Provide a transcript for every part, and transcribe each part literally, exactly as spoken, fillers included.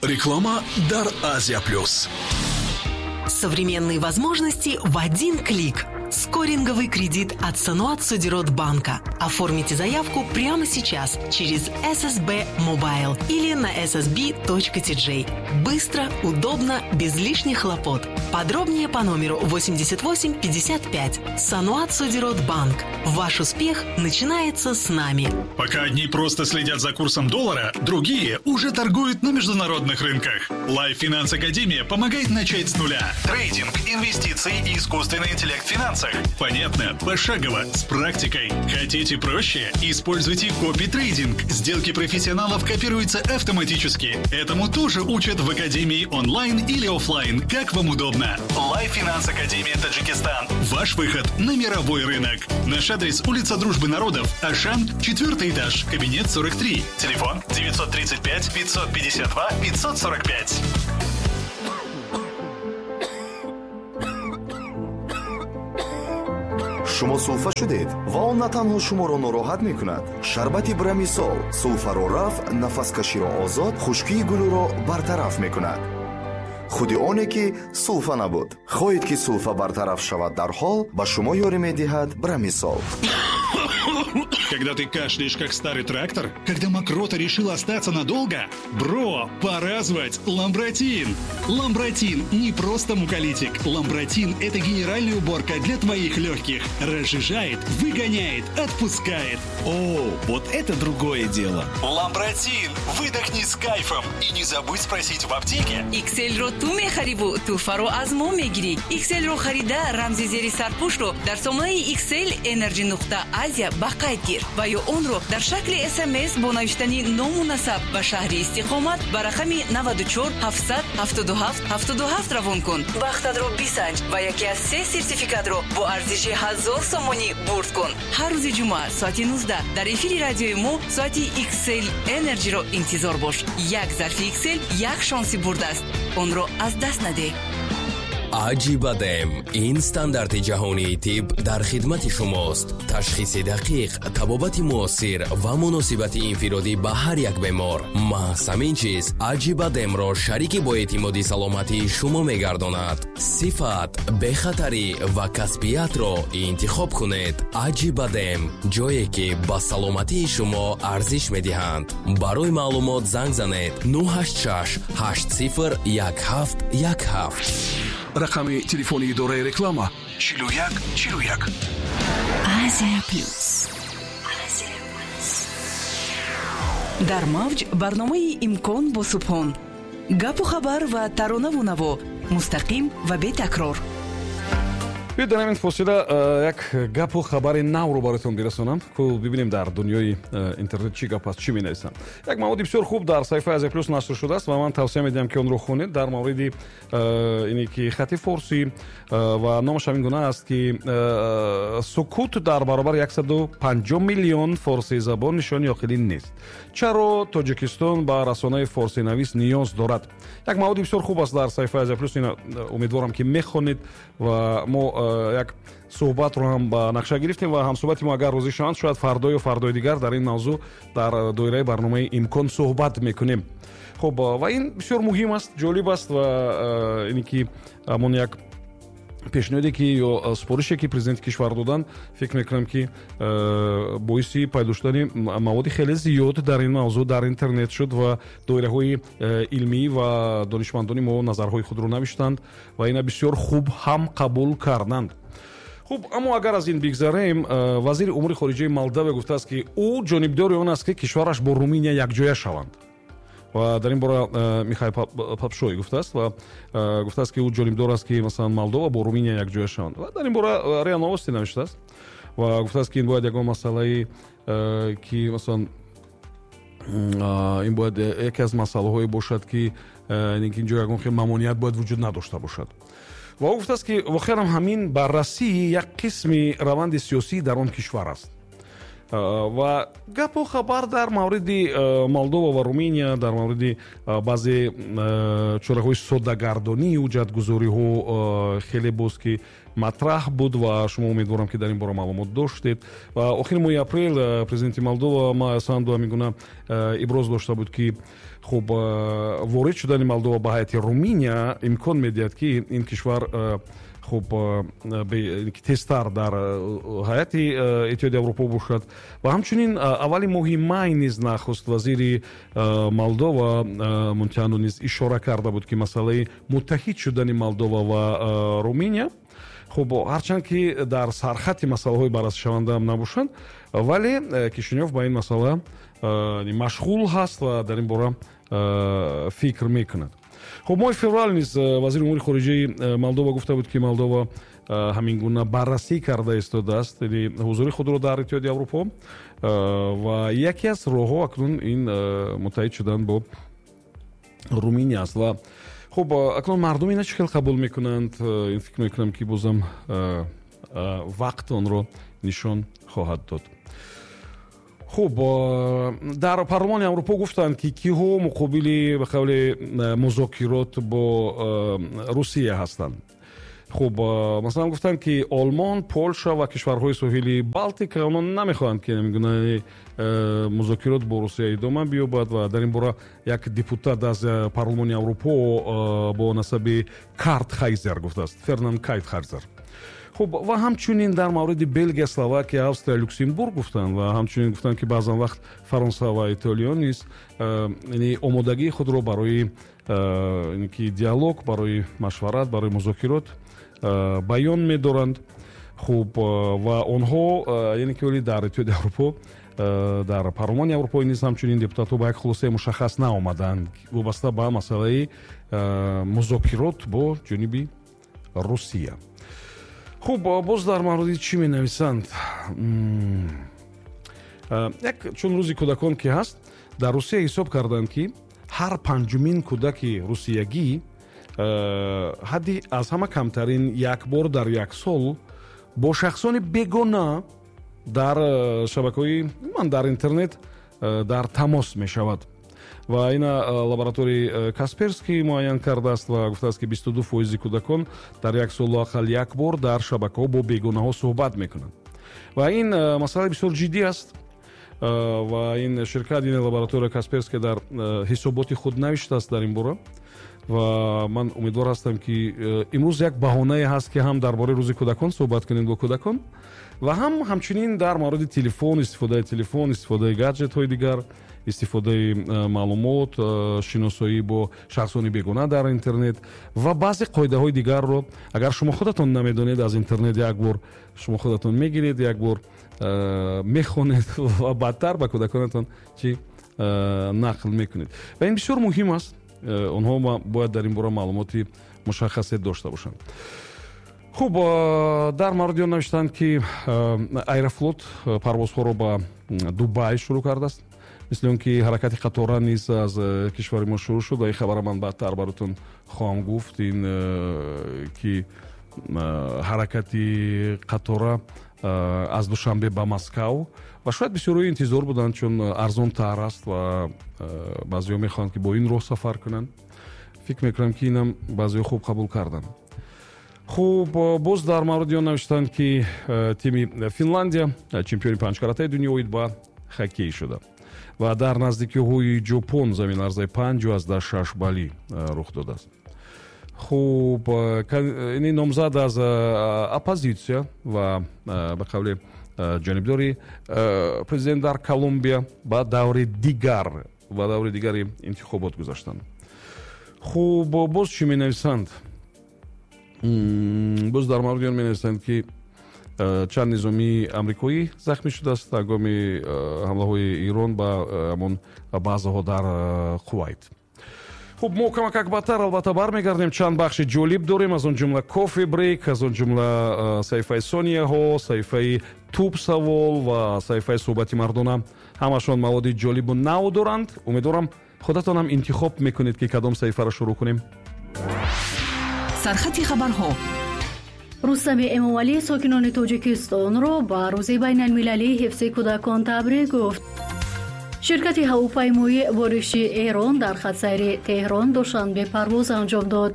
Реклама дар Азия Плюс. Современные возможности в один клик. Скоринговый кредит от Саноат Содирот банка. Оформите заявку прямо сейчас через эс эс би Mobile или на эс эс би точка ти джей. Быстро, удобно, без лишних хлопот. Подробнее по номеру восемьдесят восемь пятьдесят пять. Саноат Содирот банк. Ваш успех начинается с нами. Пока одни просто следят за курсом доллара, другие уже торгуют на международных рынках. Life Finance Академия помогает начать с нуля. Трейдинг, инвестиции и искусственный интеллект в финансах. Понятно, пошагово, с практикой. Хотите проще? Используйте копи-трейдинг. Сделки профессионалов копируются автоматически. Этому тоже учат в Академии онлайн или офлайн, как вам удобно. Life Finance Академия Таджикистан. Ваш выход на мировой рынок. Наш адрес: улица Дружбы народов, Ашан, четвертый этаж, кабинет сорок три. Телефон девятьсот тридцать пять пятьсот пятьдесят два пятьсот сорок пять. Шумо сулфа шудед ва он на танҳо шуморо нороҳат мекунад. Шарбати Брамисол сулфаро рафт, нафаскаширо озод, хушкии гулӯро бартараф мекунад. Худи оне ки сулфа набуд. Хоҳед ки сулфа бартараф шавад дарҳол, ба шумо ёрӣ медиҳад Брамисол. Когда ты кашляешь, как старый трактор, когда мокрота решила остаться надолго, бро, пора звать Ламбратин. Ламбратин не просто муколитик. Ламбратин – это генеральная уборка для твоих легких. Разжижает, выгоняет, отпускает. О, вот это другое дело. Ламбратин, выдохни с кайфом и не забудь спросить в аптеке. Иксель-ро ту мехариву, туфаро аз мо мегири. Иксель-ро харида рамзи зери сарпӯшро дар сомонаи Иксель Energy нуқта Азия ба қайд гир ва ё онро дар шакли эс эм эс бо навиштани ному насаб ба шаҳри истиқомат ба рақами наваду чор ҳафтсад ҳафтоду ҳафт ҳафтоду ҳафт равон кун. Бахтатро бисанҷ ва яке аз се сертификатро бо арзиши ҳазор сомонӣ бурд кун. Ҳар рӯзи ҷумъа соати нуздаҳ дар эфири радиои мо соати Иксель Energy-ро интизор бош. Як зарфи Иксель як шонси бурд аст. Онро аз даст надеҳ. Аҷибадем ин стандарти ҷаҳонии тиб дар хидмати шумост. Ташхиси дақиқ, табобати муосир ва муносибати инфиродӣ ба ҳар як бемор. Маҳз ҳамин чиз Аҷибадемро шарики боэътимоди саломатии шумо мегардонад. Сифат, бехатарӣ ва касбиятро интихоб кунед. Аҷибадем ҷое ки ба саломатии шумо арзиш медиҳанд. Барои маълумот занг занед нӯҳ ҳашт шаш ҳашт сифр як ҳафт як ҳафт. Рақами телефони идораи реклама чилу як чилу як. Азия Плюс. Дар мавҷ барномаи Имкон бо Субҳон. Гапу хабар ва таронаву наво мустақим ва бетакрор. Биёед дар ҳамин фосила як гапу хабари навро бароятон бирасонам, ку бибинем дар дунёи интернет чӣ гап аст, чӣ менависанд. Як маводи бисёр хуб дар саҳифаи Азия Плюс нашр шудааст ва ман тавсия медиҳам, ки онро хонед дар мавриди ине ки хати форсӣ ва номаш ҳамин гуна аст, ки сукут дар баробари яксаду панҷоҳ миллион форсизабон нишони оқилӣ нест. Чаро Тоҷикистон ба расонаи форсинавис ниёз дорад? Як маводи бисёр хуб аст дар саҳифаи Азия Плюс, умедворам, ки мехонед ва мо як суҳбатро ҳам ба нақша гирифтем ва ҳамсуҳбати мо агар розӣ шаванд, шояд фардо ё фардои дигар дар ин мавзӯъ дар доираи барномаи Имкон суҳбат мекунем. Хуб, ва ин бисёр муҳим аст, ҷолиб аст ва ине ки ҳамон як пешниҳоде ки ё супорише ки президенти кишвар доданд, фикр мекунам, ки боиси пайдо шудани маводи хеле зиёд дар ин мавзӯъ дар интернет шуд ва доираҳои илмӣ ва донишмандони мо назарҳои худро навиштанд ва ина бисёр хуб ҳам қабул карданд. Хуб, аммо агар аз ин бигзарем, вазири умури хориҷаи Молдавия гуфтааст, ки ӯ ҷонибдори он аст, ки кишвараш бо Руминия якҷоя шаванд. Ва дар ин бора Михаил Папшой гуфтааст ва гуфтааст, ки ӯ ҷонибдор аст, ки масалан Молдова бо Руминия якҷоя шаванд. Ва дар ин бора РИА Новости навиштааст ва гуфтааст, ки ин бояд ягон масъалае, ки масалан ин бояд яке аз масъалаҳое бошад, ки инҷо ягон хел мамоният бояд вуҷуд надошта бошад. Ва ӯ гуфтааст, ки воқеан ҳамин баррасии як қисми раванди сиёсӣ дар он кишвар аст. Ва гапу хабар дар мавриди Молдова ва Руминия, дар мавриди баъзе чораҳои соддагардонии ҳуҷҷатгузориҳо хеле боз ки матраҳ буд ва шумо умедворам, ки дар ин бора маълумот доштед. Ва охири моҳи апрел президенти Молдова Майя Санду ҳамин гуна иброз дошта буд, ки хуб, ворид шудани Молдова ба ҳайати Руминия имкон медиҳад, ки ин кишвар хуб тезтар дар ҳайати Иттиҳоди Аврупо бошад. Ва ҳамчунин аввали моҳи май низ нахуст вазири Молдова Мунтяну низ ишора карда буд, ки масъалаи муттаҳид шудани Молдова ва Руминия, хуб, ҳарчанд ки дар сархати масъалаҳои баррасишавандаам набошанд, вале Кишинёв ба ин масъала машғул ҳаст ва дар ин бора фикр мекунад. Хуб, моҳи феврал низ вазири умури хориҷаи Молдова гуфта буд, ки Молдова ҳамин гуна баррасӣ карда истодааст ҳузури худро дар Иттиҳоди Аврупо ва яке аз роҳҳо акнун ин муттаҳид шудан бо Руминия аст. Ва хуб, акнун мардум ина чӣ хел қабул мекунанд, ин фикр мекунам, ки бозам вақт онро нишон хоҳад дод. Хуб, дар парлумони Аврупо гуфтанд, ки киҳо муқобили ба қавли музокирот бо Русия ҳастанд. Хуб, масалан гуфтанд, ки Олмон, Полша ва кишварҳои соҳили Балтика онҳо намехоҳанд, ки ҳамин гуна музокирот бо Русия идома биёбад. Ва дар ин бора як депутат аз парлумони Аврупо бо насаби Картхайзер гуфтааст, Фернанд Кайтхайзер. Хуб, ва ҳамчунин дар мавриди Белгия, Словакия, Австрия, Люксембург гуфтанд ва ҳамчунин гуфтанд, ки баъзан вақт Фаронса ва Итолиё низ яъне омодагии худро барои ки диалог, барои машварат, барои музокирот баён медоранд. Хуб, ва онҳо яъне ки вале дар Иттиҳоди Аврупо, дар парлумони Аврупо низ ҳамчунин депутатҳо ба як хулосаи мушаххас наомаданд вобаста ба масъалаи музокирот бо ҷониби Русия. Хуб, боз дар мавриди чӣ менависанд? Як чун рӯзи кӯдакон ки ҳаст, дар Русия ҳисоб карданд, ки ҳар панҷумин кӯдаки русиягӣ ҳадди аз ҳама камтарин як бор дар як сол бо шахсони бегона дар шабакаҳои ман дар интернет дар тамос мешавад. Ва ина лабораторияи Касперский муайян кардааст ва гуфтааст, ки бисту ду фоизи кӯдакон дар як сол лоақал як бор дар шабакаҳо бо бегонаҳо суҳбат мекунанд. Ва ин масъала бисёр ҷиддӣ аст. Ва ин ширкат, ин лаборатория Касперский дар ҳисоботи худ навиштааст дар ин бора. Ва ман умедвор ҳастам, ки имрӯз як баҳонае ҳаст, ки ҳам дар бораи рӯзи кӯдакон суҳбат кунем бо кӯдакон ва ҳам ҳамчунин дар мавриди телефон, истифодаи телефон, истифодаи гаджетҳои дигар, истифодаи маълумот, шиносоӣ бо шахсони бегона дар интернет ва баъзе қоидаҳои дигарро агар шумо худатон намедонед, аз интернет як бор шумо худатон мегиред, як бор мехонед ва баъдтар ба кӯдаконатон чӣ нақл мекунед. Ва ин бисёр муҳим аст. Онҳо бояд дар ин бора маълумоти мушаххасе дошта бошанд. Хуб, дар мавриди он навиштанд, ки Аэрофлот парвозҳоро ба Дубай шурӯъ кардааст. Мисли он ки ҳаракати қатора низ аз кишвари мо шурӯъ шуд ва ин хабара ман баъдтар баротон хоҳам гуфт, ин ки ҳаракати қатора аз Душанбе ба Москав ва шояд бисёрҳо интизор буданд, чун арзонтар аст ва баъзеҳо мехоҳанд, ки бо ин роҳ сафар кунанд. Фикр мекунам, ки инам баъзеҳо хуб қабул карданд. Хуб, боз дар мавриди он навиштанд, ки тими Финландия чемпиони панҷкаратаи дунё оид ба хоккей шуда ва дар наздикиҳои Ҷопон заминларзаи панҷу аздаҳ шаш балӣ рух додааст. Хуб, ин номзад аз оппозитсия ва ба қавли ҷонибдори президент дар Колумбия ба даври дигар ба даври дигари интихобот гузаштанд. Хуб, боз чӣ менависанд? Боз дар мавриди он менависанд, ки чанд низомии амрикоӣ захмӣ шудааст ҳангоми ҳамлаҳои Ирон ба ҳамон базаҳо дар Кувайт. Хуб, мо камакак баъдтар албатта бармегардем. Чанд бахши ҷолиб дорем, аз он ҷумла кофе брейк, аз он ҷумла саҳифаи сонияҳо, саҳифаи туб савол ва саҳифаи суҳбати мардона. Ҳамашон маводи ҷолибу нав доранд. Умедворам, худатонам интихоб мекунед, ки кадом саҳифаро шурӯъ кунем. Сархати хабарҳо. Рустами Эмомалӣ сокинони Тоҷикистонро ба Рӯзи байналмилалии ҳифзи кӯдакон табрик гуфт. Ширкати ҳавопаймоии Бориши Эрон дар хатсайри Теҳрон Душанбе парвоз анҷом дод.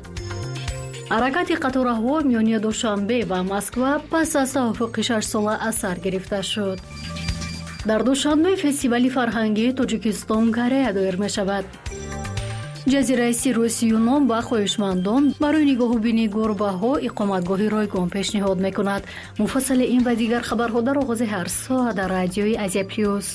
Ҳаракати қатораҳо миёни Душанбе ва Москва пас аз тавофуқи шашсола аз сар гирифта шуд. Дар Душанбе фестивали фарҳангии Тоҷикистон Корея доир мешавад. Ҷазираи Сироси Юнон ба хоҳишмандон барои нигоҳубини гурбаҳо иқоматгоҳи ройгон пешниҳод мекунад. Муфассали ин ва дигар хабарҳо дар оғози ҳар соат дар радиои Азия Плюс.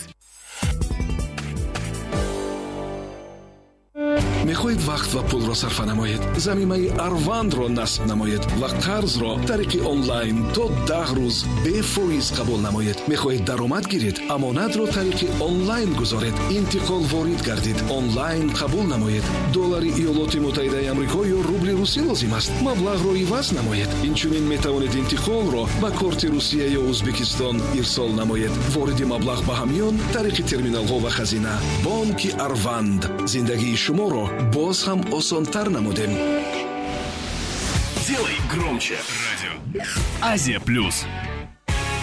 Мехоҳед вақт ва пулро сарфа намоед? Замимаи Арвандро насб намоед ва қарзро тариқи онлайн то даҳ рӯз бефоиз қабул намоед. Мехоҳед даромад гиред? Амонатро тариқи онлайн гузоред. Интиқол ворид гардид. Онлайн қабул намоед. Доллари Иёлоти Муттаҳидаи Амрико ё рубли русӣ лозим аст? Маблағро иваз намоед. Инчунин метавонед интиқолро ба корти Русия ё Ӯзбекистон ирсол намоед. Вориди маблағ ба ҳамён тариқи терминалҳо ва хазина. Бонки Арванд. Зиндагии шуморо боз ҳам осонтар намудем. Делай громче. Радио Азия Плюс.